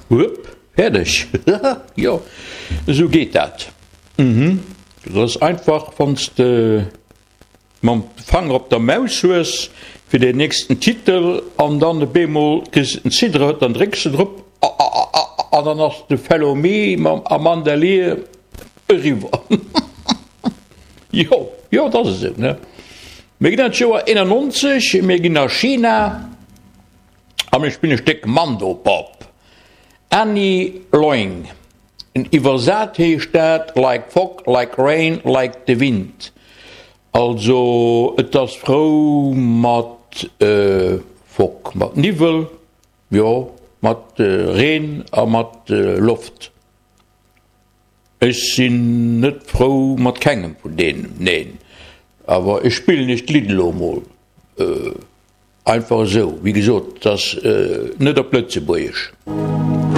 Wupp, fäerdeg. Jo, esou geet dat. Mhm, dat ass einfach, wann s de mam Fanger op der Maus hues fir den nächsten Titel an dann op eemol kriss de den Cidre, dann drécks de drop an dann ass de Fellow Me mam Amanda Lear eriwwer. Jo, jo, dat ass esou, ne? Mir ginn an d'Joer 91, mir ginn a China a mir spillen e Stéck Mandopop. Annie Loing, iwwersat heescht dat Like fog, like rain, like the wind. Also et ass frou mat Fog, mat Niwwel, jo, mat Reen a mat Loft. Ech sinn net frou mat kengem vun deenen, neen. Awer ech spillen iech d'Lidd elo emol einfach esou. Wéi gesot, et ass net op Lëtzebuergesch.